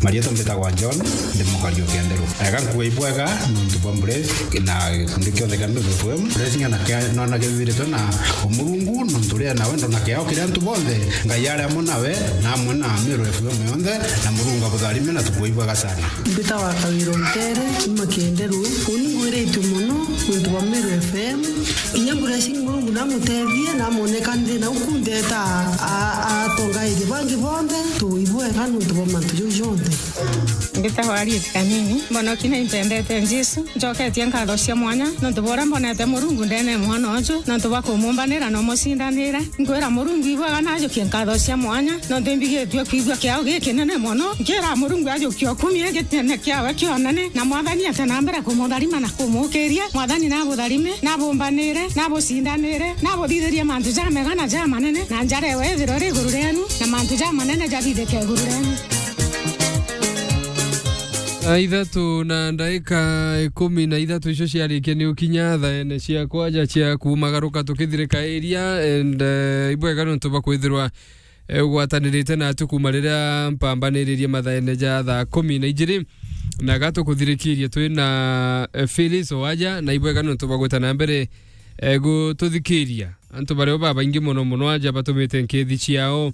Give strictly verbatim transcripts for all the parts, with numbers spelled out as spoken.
Marietwa mbitagwa John, ndi mukari o Kenderu. Ega nkuga ibwega nontu bwa Bless na gikundi kionthe kia Mbevo F M. Bless ng'ana kia nona kithiritwe na Umurungu, nontu ria nawe ndona kiao kiria antu bonthe. Ngai ari amwe nawe, na amwe na Meru F M yonthe, na Murungu abutharime na tukuga ibwega sana. Mbitagwa Kawira Ntere, kuma Kenderu. Uni ngwiritue mono nontu bwa Meru F M. Inya Bless Murungu namutethie, namwoneka nthi na uku ntheta a-, a-, atongairie bangi bonthe, tuibwega nontu bwa mantu jau jonthe. Mbitagwa Harriet Kanini, mbonoki na impendete Jesu. Njoketie nkatho cia mwanya nontu bwa uria mbonete Murungu ndene ya mwana uju, nontu bwa kumumbanira na umucindanira. Nkwira Murungu ibwega, najukie nkatho cia mwanya nontu imbigitue kwigua kiao gikinene mono. Nkira Murungu ajukie ukumie gitene kiawe kionene, na Mwathani ate na mbere kumutharima na kumukiria. Mwathani nabutharime, nabumbanire, nabucindanire, nabuthithirie mantu jamega na jamanene, na njara ewe ithirwe iri iguru rienu, na mantu jamanene jabithike iguru rienu. Thaa ithatu na ndaika ikumi na ithatu icio ciarikia ni ukinya thaene cia kwaja cia kumagaruka tukithirika iria, and, eh, ibwega nontu bwa kwithirwa, eh, ugwatanirite natu kuma riria mpambaniririe mathaene ja thaa kumi na ijiri, na gatukuthirikirie twi na, eh, Phyllis Owaja, na ibwega nontu bwa gwita na mbere, eh, gututhikiria. Antu bario babaingi mono mono aja batumite nkithi ciao,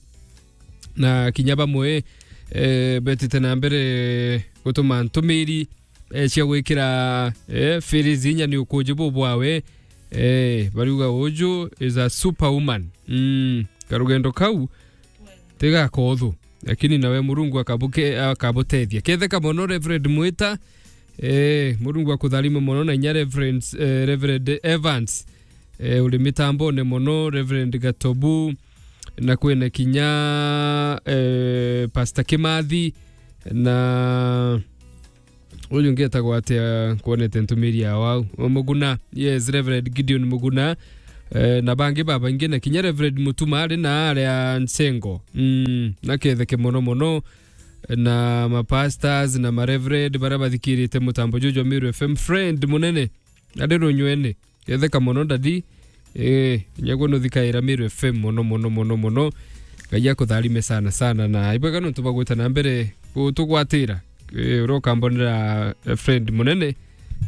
na kinya bamwe, eh, betite na mbere gutuma ntumiri, eh, cia gwikira, eh, Phyllis inya ni ukuji bubwawe. Eh, bariuga uju is a superwoman. Mm, karugendo kau tigakothu, lakini nawe Murungu akabuke-, akabutethia. Ketheka mono Reverend Mwita, eh, Murungu akutharime mono, na inya Reverend, eh, Reverend Evans, eh, uri mitambone mono, Reverend Gatobu, na kwina kinya, eh, Pastor Kimathi, na uyu ungi etagwa atia, kwonete ntumiri ya wau? O Muguna, yes, Reverend Gideon Muguna, eh, na bangi babaingi, na kinya Reverend Mutuma ari na aria Nsengo. Mm, na ketheke mono mono, na ma pastors na ma reverend baria bathikirite mutambo juju jwa Meru F M, friend munene, ari runywene. Ketheka mono, daddy. Eh, nyaguo nuthikaira Meru F M mono, mono, mono, mono. Ngai akutharime sana, sana, na ibwega nontu bwa gwita na mbere gutugwatira. Eh, uria ukambonera, eh, friend munene.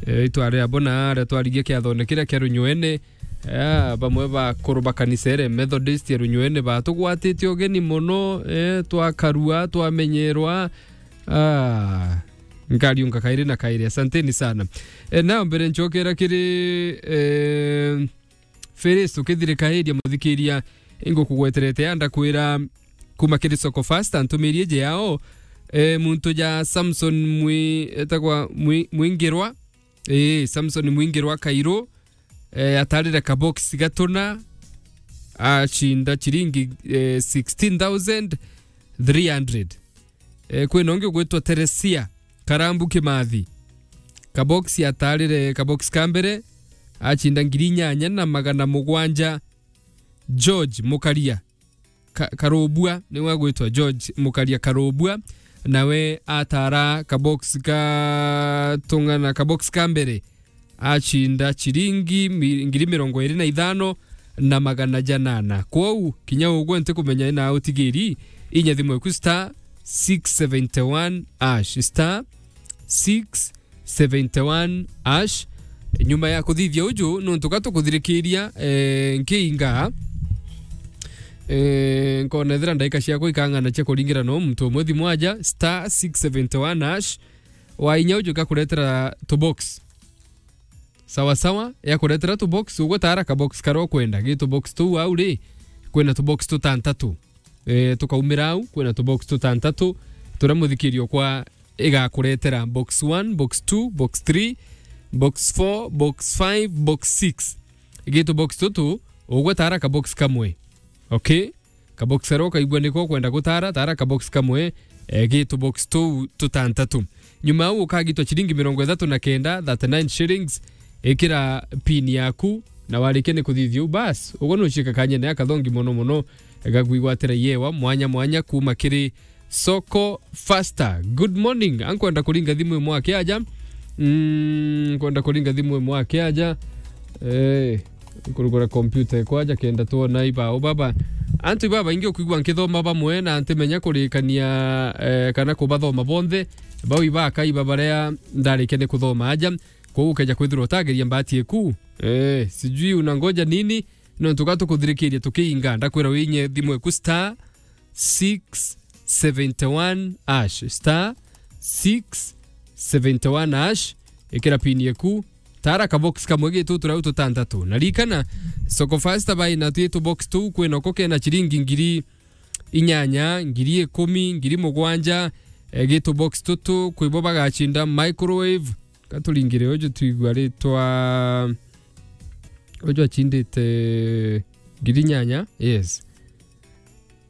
Eh, itwari abo na aria twarigia kiathone kiria kia runywene. Eh, bamwe bakuru ba kanisa ere Methodist ya runywene batugwatite ugeni mono, eh, twakarua, twamenyerwa. Ah, nkariunga kairi na kairi. Asanteni sana. Eh, nao mbere ncokera kiri, eh, Felix, tukithirikairia muthikiria, ingukugweterete ya ndakwira kuma kiri Soko Fast, antumirie je yao, eh, muntu ja Samson Mwi-, etagwa Mwi-, Mwingirwa, eh, Samson Mwingirwa Kairu, eh, atarire kabox gatuna, acinda chiringi, eh, sixteen thousand three hundred. Eh, kwina ungi ugwitwa Teresia Karambu Kimathi. Kabox atarire, kabox ka mbere, acinda ngiri inyanya na magana mugwanja. George Mukaria Ka-, Karubua, niwe agwitwa George Mukaria Karubua, nawe atara kabox ka tung'ana, kabox ka mbere, acinda chiringi mi-, ngiri mirongo iri na ithano na magana janana. Kwou, kinya ugwe ntikumenya ina utigiri, inya thimu eku star six seventy one hash, star six seventy one hash. Nyuma ya kuthithia uju, nuntu ka tukuthirikiria, eh, nkiinga, eh, nkona ethira ndaika ciakwa ikang'ana cia kuringira no muntu umwe thimu aja, star six seventy one hash. Wainya uju gakuretera tubox. Sawa sawa, yakuretera tubox, ugwe tara kabox karia ukwenda. Gi tubox tuu au ri, kwina tubox tutantatu. Eh, tukaumira au, kwina tubox tutantatu, turia muthikirio kwa igakuretera box one, box two, box three, box four, box five, box six. Gi tubox tutu, ugwe tara kabox kamwe. Okay? Kabox karia ukaigua niko ukwenda gutara, tara kabox kamwe, eh, gi tubox tuu tutantatu. Nyuma au ukagitwa chiringi mirongo ithatu na kenda, thirty nine shillings, ikira pin yaku, na warikia ni kuthithia u, bas, ugwe nucika kanyene akathongi mono mono, gagwigwatira yewa mwanya mwanya kuma kiri Soko Faster. Good morning. Ankwenda kuringa thimu imwe akiaja. Mm, nkwenda kuringa thimu imwe akiaja. Eh, kurugura computer ikwaja kenda tuona ibao baba. Antu ibabaingi ukwigua nkithoma bamwe na ntimenya kurikania, eh, kana kubathoma bonthe, bau ibakaiba baria ndarikia ni kuthoma aja. Kwou ukeja kwithirwa utageria mbati eku. Eh, sijui unangoja nini, nontu ga tukuthirikiria tukiinga, ndakwira winye thimu eku star six seventy one hash, star six seventy one hash, ikira pin yeku, tara ka box kamwe gitu turia tutantatu. Na rikana, Soko Fasta bai na twi tu box tu kwina ko kena chiringi ngiri inyanya, ngiri ikumi, ngiri mugwanja, eh, gitu box tutu, kwibo bagachinda microwave, katuringire uju twigua ritwa, uju achindite ngiri inyanya, yes.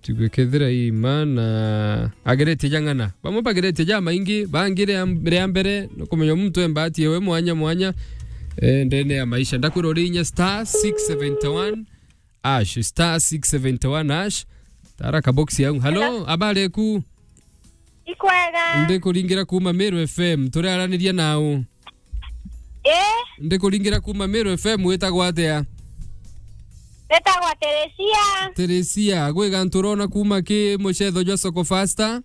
Tugwikethira ima na ageretie jang'ana. Bamwe bageretie jamaingi, bangi ria, ria mbere, nukumenya muntu embati ewe mwanya mwanya, eh, ndene ya maisha. Ndakwira uri inya star six seventy one hash, star six seventy one hash. Tara ka box yau. Hello, habari eku? Ikwega. Ndikuringira kuma Meru F M. Turiaraniria nau? Eh? Ndikuringira kuma Meru F M, witagwa atia? Witagwa Teresia. Teresia, gwi gantu urona kuma ki mucetho jwa Soko Fasta?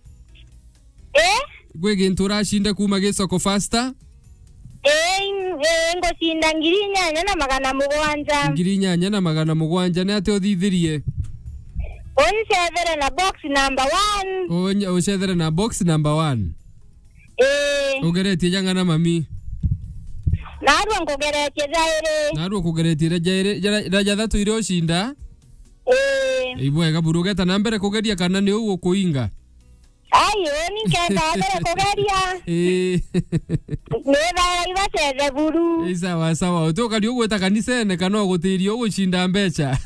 Eh? Gwi gintu uracinde kuma gi Soko Fasta? Eh, in-, eh, ngucinda ngiri inyanya na magana mugwanja. Ngiri inyanya na magana mugwanja, ni atia uthithirie? Uncethere na box number one. Unye-, ucethere na box number one. Ii. Ugeretie jang'ana mami? Narua nkugeretie jairi. Narua kugeretie ira jairi, jara, ira jathatu ire ucinda? Ii. Ibwega buru, ugeta na mbere kugeria kana ni uu ukuinga? Ai, uni nkenda mbere kugeria. Ii. Ni bara ibacethe buru. Ii, sawa, sawa. Uti ukari ugwita kanisene kana ugutiria ugucinda mbecha?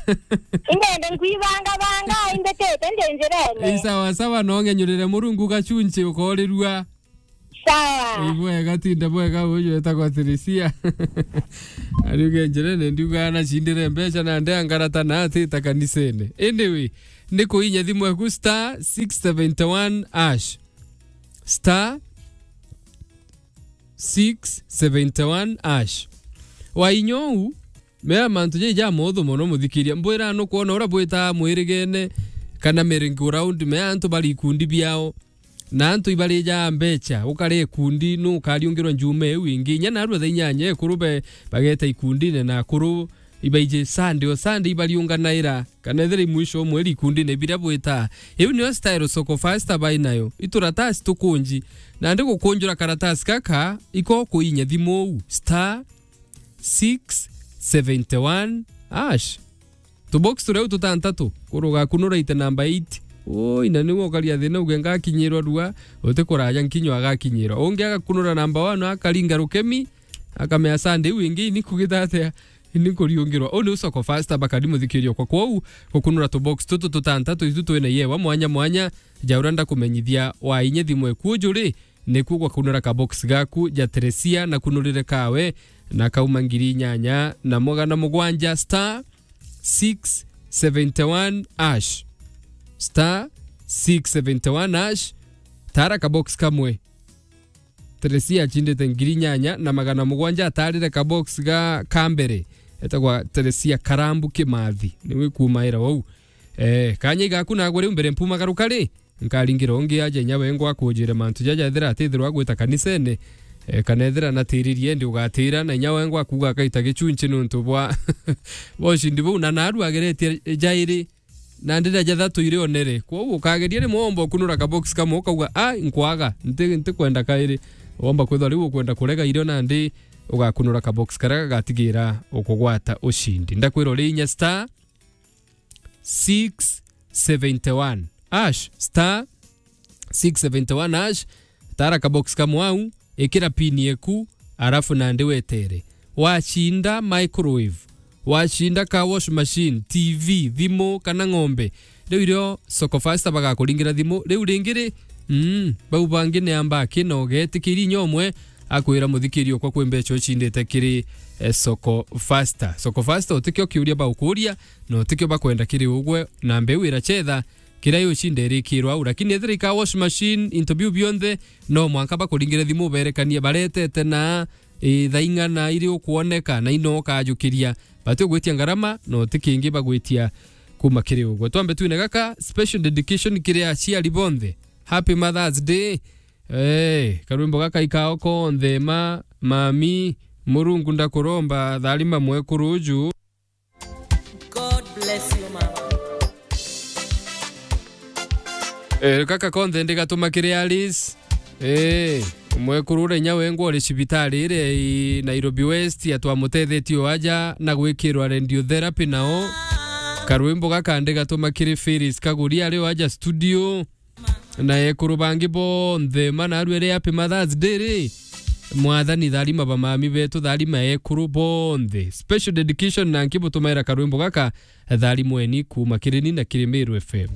Ingende nkwibanga banga, imbitite ndi njirene. Ii, sawa, sawa, no ngenyurire Murungu gachunchi ukorirua. Sawa. Ii, bwega, tinda bwega, uyu etagwa Teresia. Ariuge njirene, ndiuga anacindire mbecha na nde angarata na atita kanisene. Anyway, ni kuinya thimu eku star six seventy one hash. Star six seventy one hash. Wainya uu, mea mantu jai ja motho mono muthikiria. Mbwira nukwona uria bwitaa mwirigene kana merry-go-round, mea antu bari ikundi biao. Na antu ibarijaa mbecha, ukare ikundi, nukariungirwa njuma iu ingi. Inya narua thaa inyanya ekuru be-, bageta ikundine na akuru ibaiji Sunday o Sunday ibariunganaira, kana ethira i mwisho o mweri ikundine biria bwitaa. Iu nio style Soko Fasta bai nayo. Ituratasi tukunji. Nandi gukunjura karatasi gaka, iko kuinya thimu uu. Star six seventy one hash. Tubox turia u tutantatu, kuru ugakunura ite namba eight. Oi, na niwe ukaria thina uge ngakinyirwa rua, uti kuraja nkinywa agakinyirwa. Ungi agakunura namba one, akaringa rukemi, akamea Sunday iu ingi ini kugita atia, ini kuriungirwa. Uu niu Soko Fasta bakari muthikirio kwa kwou, gukunura tubox tutu tutantatu itu twina yewa mwanya mwanya, ja uria ndakumenyithia wa inye thimu eku juri, niku gwakunura ka box gaku ja Teresia na kunurire kawe, na kauma ngiri inyanya na magana mugwanja star six seventy one hash. Star six seventy one hash. Tara ka box kamwe. Teresia achindite ngiri inyanya na magana mugwanja atarire ka box ga, ka mbere. Etagwa Teresia Karambu Kimathi. Niwe kumaira wau. Eh, kanya igaku nagwe riu mbere mpumagaruka ri? Nkaringira ungi aja inya wengwa akujire mantu jaja ethira atithirwa agwita kanisene, eh, kana ethira natiririe ndi ugatira, na inya wengwa akuga akaita gichunchi nuntu bwa, bwa ushindi buu, na naru ageretie jairi, na ndira jathatu iri onere. Kwou ukageria rimwe womba ukunura ka box kamwe ukauga, "Ai, nkwaga, nti-, ntikwenda kairi." Womba kwithwa riu ukwenda kurega irio nandi ugakunura ka box karia gagatigira ukugwata ushindi. Ndakwira uri inya star six seventy one hash, star six seventy one hash, tara ka box kamwe au, ikira pin yeku, arafu nandi wetere. Wacinda microwave, wacinda ka wash machine, T V, thimu kana ng'ombe, riu irio Soko Fasta bagakuringira thimu. Riu ringi ri, mm, bau bangi ni amba akina ugetikiri inya umwe akwira muthikiri okwa kwi mbecha ucindite kiri, eh, Soko Fasta. Soko Fasta utikio kiuria baukuria, na utikio bakwenda kiri ugwe, na mbeu irachetha, kiria yucinda irikirwa au. Lakini ethira ika wash machine, into biu bionthe, no mwanka bakuringire thimu uberekanie baretete na, eh, thaa ing'ana iri ukwoneka, na ino ukajukiria. Bati ugwitia ngarama, na uti kingi bagwitia Kuma kiri ugwe. Twambe twine gaka, special dedication kiri aciari bonthe. Happy Mother's Day. Eh, karwimbo gaka ikao konthe, ma, mami, Murungu ndakuromba, tharima mwekuru uju. God bless you, mama. Eh, gaka konthe ndigatuma kiri Alice. Eh, mwekuru uria inya wengwa uri cibitari iria i Nairobi West, atwamutethetie o aja na gwikirwa radiotherapy nao. Karwimbo gaka ndigatuma kiri Phyllis Kaguri ari o aja studio. Na ekuru bangi bonthe, mana arua ri happy Mother's Day ri. Mwathani tharima bamami betu, tharima ekuru bonthe. Special dedication na nkibutumaira karwimbo gaka, tharimweni kuma kiri ni na kiri Meru F M.